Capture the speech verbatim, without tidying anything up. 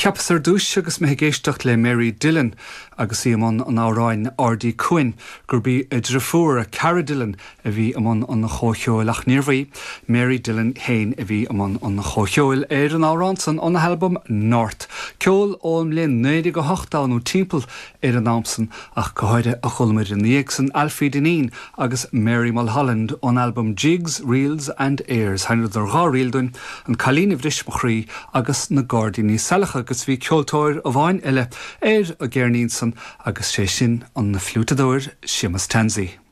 Cheapas ar dtús agus mé ag éisteacht le Mary Dillon agus í i mbun an amhráin Ardí Cuain gurb í a deirfiúr Cara Dillon a bhí i mbun an chomhcheoil ach níorbh í Mary Dillon féin a bhí i mbun an chomhcheoil ar an amhrán san óna halbam North. Ceol ón mbliain naoi déag a hocht nó timpeall ar an am san ach go háirithe a chualamar ina dhiaidh san Alfie Dineen agus Mary Mulholland ón album Jigs, Reels and Airs. Sheinneadar dhá ríl dúinn an Cailín a Bhris Mo Chroí agus na Gairdíní Saileacha agus bhí ceoltóir amháin eile ar an gceirnín san agus sé sin an fliútadóir Séamus Tansey.